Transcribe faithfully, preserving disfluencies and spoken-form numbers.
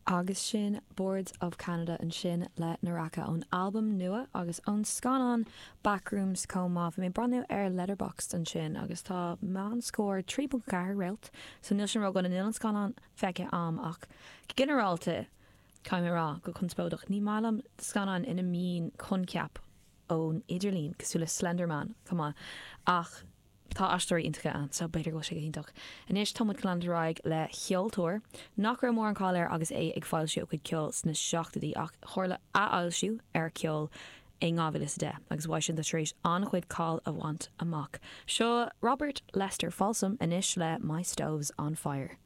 Agus sin Boards of Canada ansin le Naraka ón albam nua agus ón scannán Backrooms chomh maith mé breathnú ar Letterboxd ansin agus tá meánscór trí ceathair réalt, so níl sin ró-dona níl an scannán feicthe agam ach ginearálta caithfidh mé rá go conspóideach ní maith liom scannán ina mbíonn coincheap ón idirlíon cosúil le Slenderman chomh maith ach Tá aisteoirí iontacha ann, so b'fhéidir go bhfuil sé go hiontach. Anois tá muid ag leanúint ar aghaidh le ceoltóir nach raibh mórán cáil air agus é ag foilsiú a chuid ceoil sna seachtóidí ach tharla athfhoilsiú ar ceol in dhá mhíle is a deich agus uaidh sin tá tar éis an-chuid cáil a bhaint amach. Seo Robert Lester Folsom anois le My Stove's on Fire.